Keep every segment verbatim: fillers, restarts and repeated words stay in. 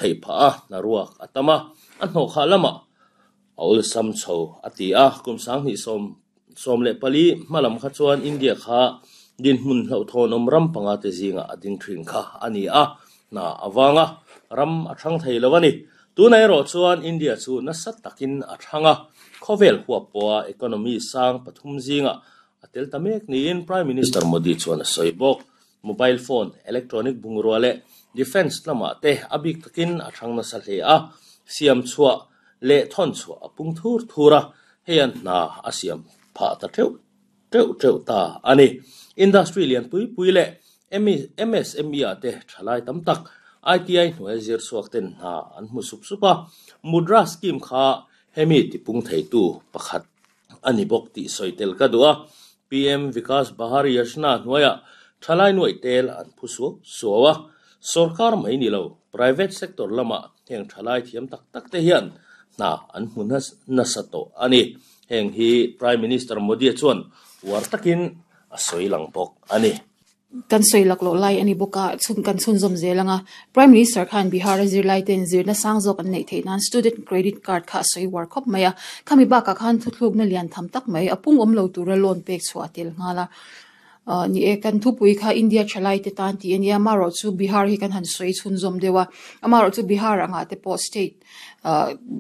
Thei pha a na ruak atama a hno kha lama a ul sam chho ati a kum sang ni som som le pali malam kha chuan India kha din hmun hlo thon om ram panga te zinga ading thin kha ani a na awanga ram a thang thei lawani tunai ro chuan India chu na sat takin a thanga khovel huwa poa economy sang pathum zinga atel tamek ni in Prime Minister Modi chuan a soibok mobile phone electronic bungrua defense lama te abik takin a thang na sa hle a siam chua le thon chua apung thur thura heian na asiam pha ta theu teu teu ta ani industry lian pui pui le M S M E ate thalai tam tak I T I hnuai zir suak ten na an hmu sup supa mudra scheme kha hemi tipung theitu pakhat ani bok ti soitel ka dua P M Vikas Bahar Yojana hnuaia thalai nuai tel an phusu suwa sarkar mai ni lo private sector lama heng thalai thiam tak tak te hian na an hmu na sato ani heng hi Prime Minister Modi chuan war takin a soilang bok ani kan soi lak lo lai ani boka chun kan chun zom zelanga Prime Minister khan Bihar zir lai ten zir na sang zok an nei thei nan student credit card kha soi war khop maya khami ba ka khan thuthluk na lian tham tak mai apung om lo tura loan pek chua tel ngala ni e kan thupui kha India chalai te tan ti ania maro chu Bihar hi kan han soi chun zom dewa amaro chu Bihar anga te po state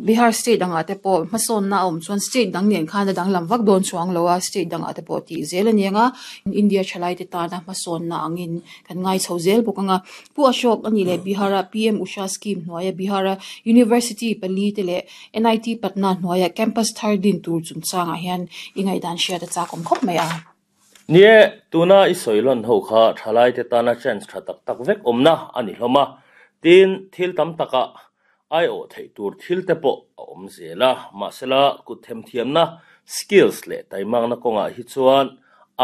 Bihar state anga te po mason na om chuan state dang nen khan dang lam vak don chuang lowa state dang ate po ti zel ania India chalai te ta na mason na angin kan ngai chho zel bokanga pu Ashok ani le Bihara P M Usha scheme hnuaia Bihara University pali te le N I T Patna hnuaia campus thar din tur chungchanga hian ingai dan shia ta chakom khop mai a nie tuna i soilon ho kha thalai te tana chance tha tak tak vek omna ani hloma tin thil tam taka ai o thei tur thil te po om zela masela ku them thiam na skills le taimang na konga hi chuan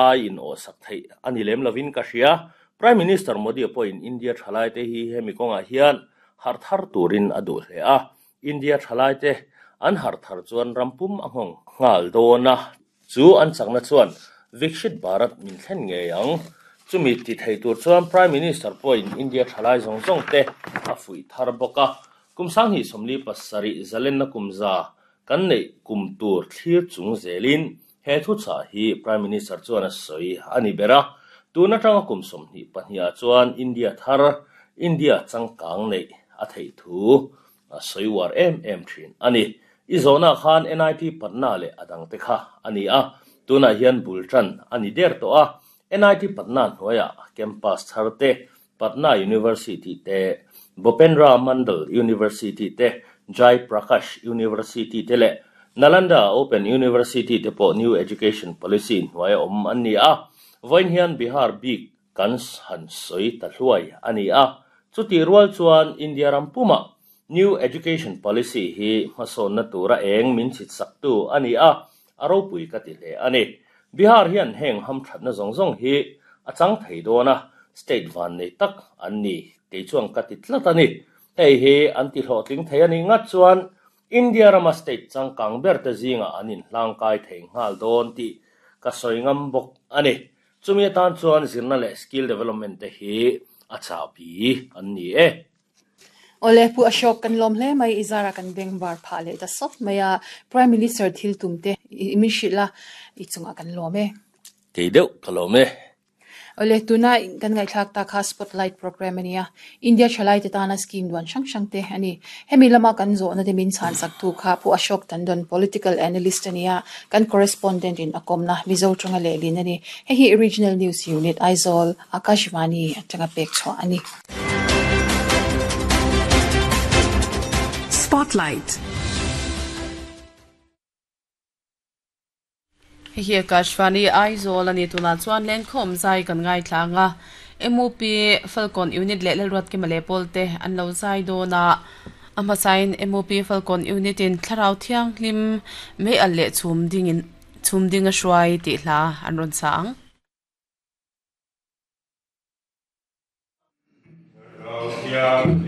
ai in o sak thei ani lem lovin ka hria Prime Minister Modi point India thalai te hi hemi konga hian har thar turin adu hle a India thalai te an har thar chuan rampum anghong ngal dona chu an chakna chuan Viksit Bharat min thlen nge ang chumi ti thei tur chuan Prime Minister point India thalai zong zong te a fui thar boka kumsang hi somli pasari zalen na kumza kan nei kum tur thlir chung zelin he thu cha hi Prime Minister chuan a soi ani bera tuna tanga kum som hi pahnia chuan India thar India changkang nei a thei thu a soi war em em thin ani i zona khan N I T Patna le adang te kha ani a tuna hian bultan ani der to a N I T Patna hnuaia campus tharte Patna University te Bhupendra Mandal University te Jai Prakash University te le Nalanda Open University te po New Education Policy hnuaia om ani a voin hian Bihar bik kan han soi ta hluai ani a chuti rual chuan India rampuma New Education Policy hi hmasawn na tura eng min chit sak tu ani a aropui ka ti hle ani Bihar hian heng ham thatna zong zong hi achang thei dona state van nei tak an ni te chuang ka ti tlat ani hei hi an ti hlawhtling thei ani ngat chuan India rama state changkang ber te zinga anin hlangkai thei nghal dawn ti ka soingam bok ani chumi tan chuan zirna le skill development te hi a chabi an ni e Ole pu Ashok kan lom hle mai izara kan beng bar pha le ta sop maya Prime Minister thil tumte mi shila ichunga kan lome ke deuh ka lome Ole tuna kan ngai thlak ta kha spotlight program ania India chalai te tana scheme duan sang sang te ani hemi lama kan zo na te min chan sak tu kha pu Ashok Tandon political analyst ania kan correspondent in akomna Mizo chunga le lin ani he hi regional news unit Aizawl Akashvani atanga pek chho ani Spotlight. Hi Akashvani Aizawl ani tuna chuan lenkhom zai kan ngai thlanga M O P Falcon unit le lalruat ki male polte an lo zai dona ama sign M O P Falcon unit in thlarau thiang hlim me al le chum ding in chum ding a hruai ti hla an ron sang Yeah.